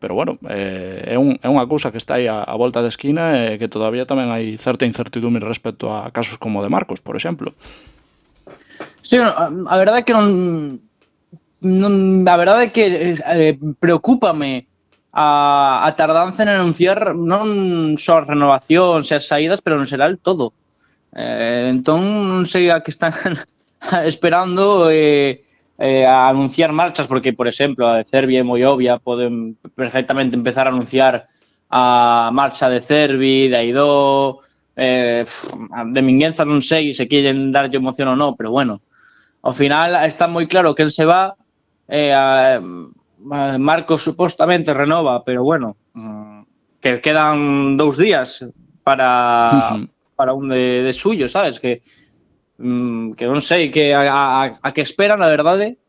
pero bueno, é unha cousa que está aí a volta da esquina e que todavía tamén hai certa incertidumbre respecto a casos como o de Marcos, por exemplo. Sí, a verdade é que a verdade é que preocúpame a tardanza en anunciar non só as renovacións e as saídas, pero en xeral todo. Entón non sei a que están esperando a anunciar marchas, porque, por exemplo, a de Cervi é moi obvia, poden perfectamente empezar a anunciar a marcha de Cervi, de Aidó, de Mingueza non sei se queren darlle emoción ou non, pero bueno, ao final está moi claro quen se va, Marcos supostamente renova, pero bueno, que quedan 2 días para un de suyo, sabes? Que non sei que a que esperan, a verdade.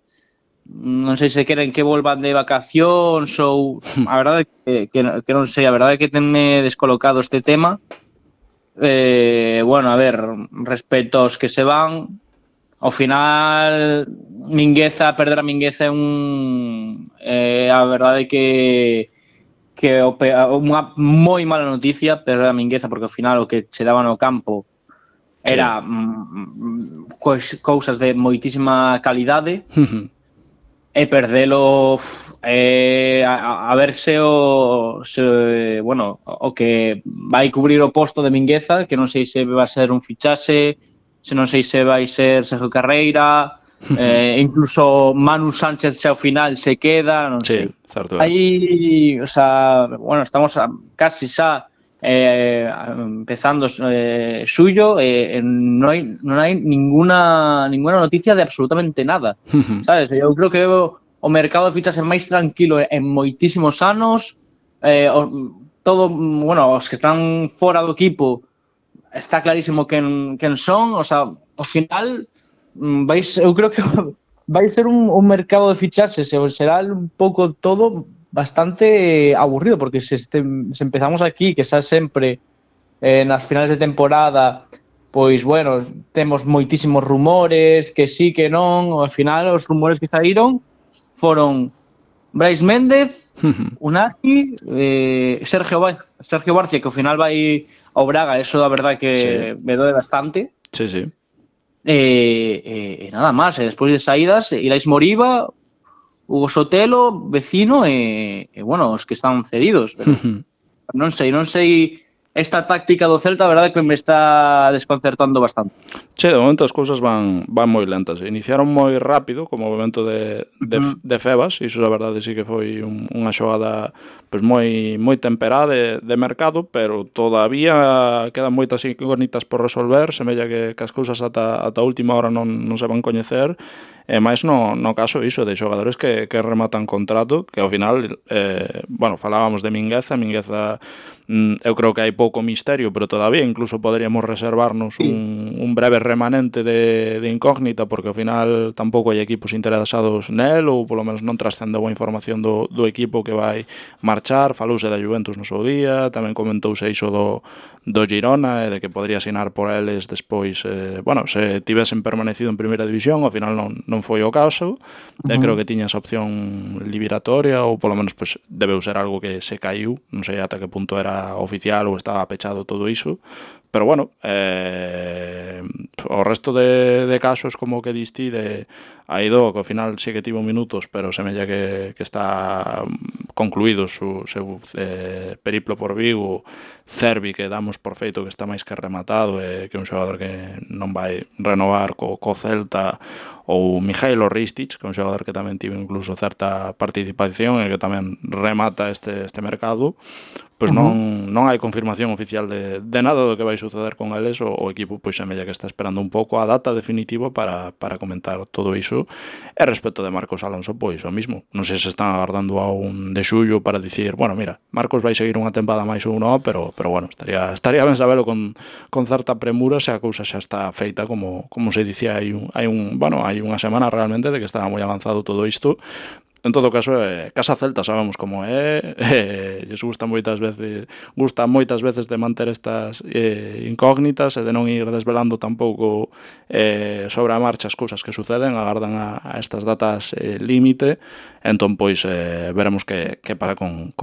Non sei se queren que volvan de vacacións ou a verdade que non sei, a verdade é que tenme descolocado este tema. Bueno, a ver, respecto aos que se van, ao final perder a Mingueza é a verdade que unha moi mala noticia perder a Mingueza, porque ao final o que se daba no campo era cousas de moitísima calidade. E perdelo a ver se o que vai cubrir o posto de Mingueza, que non sei se vai ser un fichaxe, se non sei se vai ser Sergio Carreira, incluso Manu Sánchez se ao final se queda, non sei. Certo. Aí, o sea, bueno, estamos casi xa empezando suyo, non hai ninguna noticia de absolutamente nada, sabes? Eu creo que o mercado de fichaxe máis tranquilo en moitísimos anos, todo, bueno, os que están fora do equipo está clarísimo quen son, o sea, ao final eu creo que vai ser un mercado de fichaxes e será un pouco todo bastante aburrido, porque se empezamos aquí, que xa sempre nas finales de temporada, pois, bueno, temos moitísimos rumores, que sí, que non, ao final os rumores que saíron foron Brais Méndez, Unai, Sergio Barcia, que ao final vai ao Braga, eso a verdade que me doe bastante. Sí. E nada máis, e despois de saídas, Irais Moriba, Hugo Sotelo, Vecino e bueno, os que están cedidos, pero non sei esta táctica do Celta, a verdade que me está desconcertando bastante. Sí, de momento as cousas van moi lentas. Iniciaron moi rápido, como o momento de Febas, e iso a verdade sí que foi unha xogada pois moi temperada de mercado, pero todavía quedan moitas incógnitas por resolver, semella que as cousas ata a última hora non se van coñecer, e máis no caso iso de xogadores que rematan contrato, que ao final, bueno, falábamos de Mingueza, eu creo que hai pouco misterio, pero todavía incluso poderíamos reservarnos un breve remanente de incógnita, porque ao final tampouco hai equipos interesados nel, ou polo menos non trascende boa información do equipo que vai marchar. Falouse da Juventus no seu día, tamén comentouse iso do Girona, e de que podría asinar por eles despois, bueno, se tivesen permanecido en primeira división, ao final non foi o caso. Creo que tiña esa opción liberatoria, ou polo menos pues, debeu ser algo que se caiu, non sei ata que punto era oficial ou estaba pechado todo iso, pero bueno, o resto de casos como que diste de Aidó, que ao final sí que tivo minutos, pero semella que está concluído o seu periplo por Vigo. Cervi, que damos por feito que está máis que rematado, que é un xogador que non vai renovar co Celta, ou Mijailo Ristic, que é un xogador que tamén tivo incluso certa participación e que tamén remata este mercado. Pois non hai confirmación oficial de nada do que vai suceder con eles. O equipo pois semella que está esperando un pouco a data definitiva para comentar todo iso. E respecto de Marcos Alonso, pois o mismo. Non sei se están agardando a un de xullo para dicir, bueno, mira, Marcos vai seguir unha tempada máis ou non, pero bueno, estaría ben sabelo con certa premura se a cousa xa está feita, como se dicía hai unha semana realmente de que estaba moi avanzado todo isto. En todo caso, Casa Celta sabemos como lles gusta moitas veces de manter estas incógnitas e de non ir desvelando tampouco sobre a marcha as cousas que suceden, agardan a estas datas límite. Entón, pois, veremos que pasa con